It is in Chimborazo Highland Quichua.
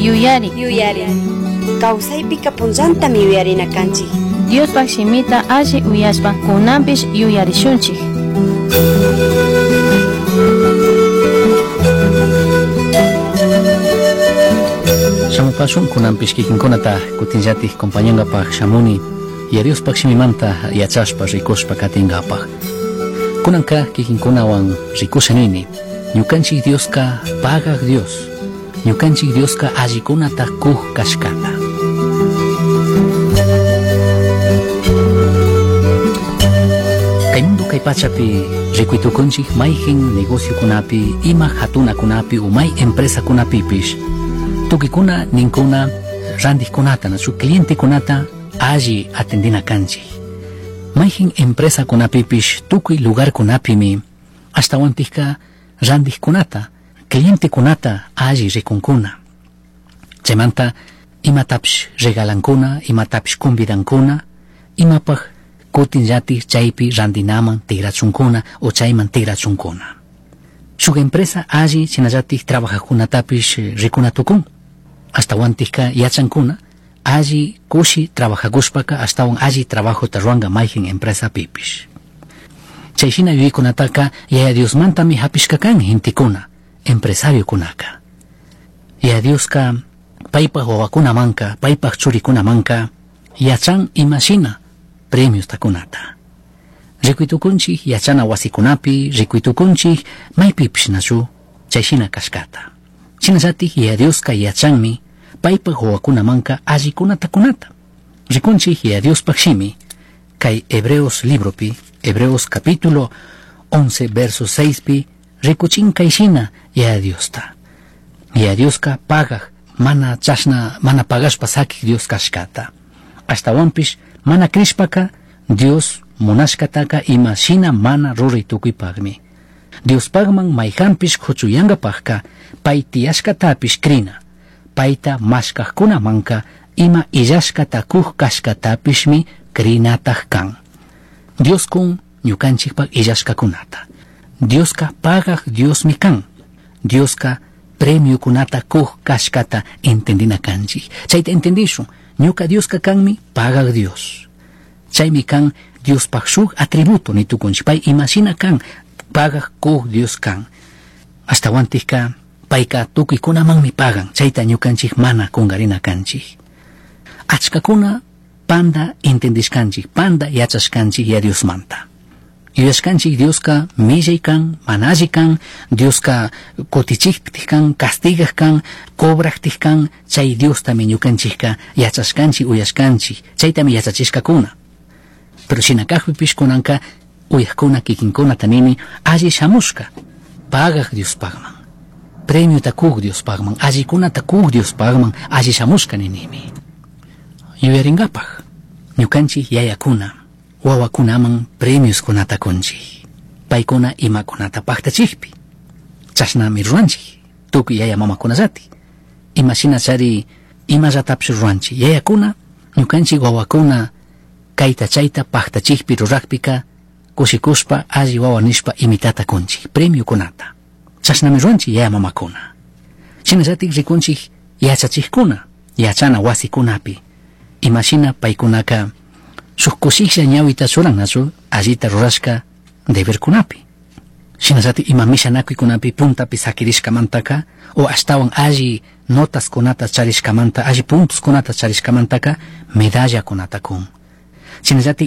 Yuyari. Yuyari. Kawsaypika punllantami yuyarina kanchik. Diospaj shimita alli uyashpa kunanpish yuyarishunchik. Shamupashun kunanpish kikinkunata kutinllatik compañangapaj shamuni Yaya Diospaj shimimanta yachashpa rikushpa katingapaj. Kunanka kikinkunawan rikusha nini. Ñukanchik Dioska pagaj Dios. Ñukanchik Dioska allikunata kuj kashkata. Kay mundo kay pachapi rikuytukunchik mayjin negociokunapi, ima hatunakunapi o may empresakunapipish tukikuna ninkuna randijkunata, nachu clientekunata alli atendina kanchik. Mayjin empresakunapipish tukuy lugarkunapimi ashtawantikka randijkunata, clientekunata alli rikunkuna. Chaymanta imatapish regalankuna, imatapish convidankuna, imapaj kutinllatik chaypi randinaman tigrachunkuna o chayman tigrachunkuna. Shuk empresa alli shinallatik trabajajkunatapish rikuna tukun. Ashtawantikka yachankuna alli kushi trabajakushpaka ashtawan alli trabajota ruwanka mayjin empresapipish. Chay shina yuyaykunataka Yaya Diosmantami hapishka kan gentekuna, empresariokunaka. Yaya Dioska paypaj wawakunamanka, paypaj churikunamanka yachan imashina premiosta kunata. Rikuytukunchik yachana wasikunapi, rikuytukunchik maypipish nachu chay shina kashkata. Shinallatik Yaya Dioska yachanmi paypaj wawakunamanka allikunata kunata. Rikunchik Yaya Diospaj shimi kay Hebreos libropi, Hebreos capítulo 11 verso 6 pi rikuchin kay shina Yaya Diosta. Yaya Dioska pagaj, mana chashna, mana pagashpa sakik Dios kashkata. Ashtawanpish mana krishpaka Dios munashkataka ima shina mana ruray tukuypakmi. Diospakman mayjanpish kuchuyankapakka pay tiyashkatapish krina. Payta mashkajkunamanka ima illashkata kuj kashkatapishmi krinataj kan. Dios kun ñukanchikpak illashkakunata. Dioska pagaj Diosmi kan. Dioska premiokunata kuj kashkata entendina kanchik. Chayta entendishun. Ñuka Dioska kanmi pagaj Dios. Chaymi kan Diospaj shuk atributo nitukunchik. Pay imashina kan pagaj kuj Dios kan. Ashtawantikka payka tukuykunamanmi pagan. Chayta ñukanchik mana kungarina kanchik. Achkakuna panda entendishkanchik, panda yachashkanchik ya Diosmanta. Yuyashkanchik Dioska millay kan, mana alli kan, Dioska kutichiktik kan, castigaj kan, cobrajtik kan, chay Diostami ñukanchikka yachashkanchik, uyashkanchik, chaytami yachachishkakuna. Pero shina kajpipish kunanka uyajkuna kikinkunata nini alli shamushka, pagaj Diospakman, premiota kuj Diospakman, allikunata kuj Diospakman, alli shamushka ninimi. Yuyaringapaj, ñukanchik yayakuna, wawakunaman premioskunata kunchik, paykuna imakunata paktachikpi. Chashnami ruranchik, tukuy yaya mamakunallati. Imashina chari imallatapish ruranchik, yayakuna, ñukanchik wawakuna kayta chayta paktachikpi rurakpika, kushikushpa alli wawa nishpa imitata kunchik, premiokunata. Chashnami ruranchik yaya mamakuna. Shinallatik rikunchik yachachikkuna, yachana wasikunapi. Imashina paykunaka shuk kushiklla ñawita churan nachu allita rurashka deberkunapi. Shinallatik ima mishanakuykunapi puntapi sakirishkamantaka o ashtawan alli notaskunata charishkamanta, alli puntoskunata charishkamantaka medallakunata kun. Shinallatik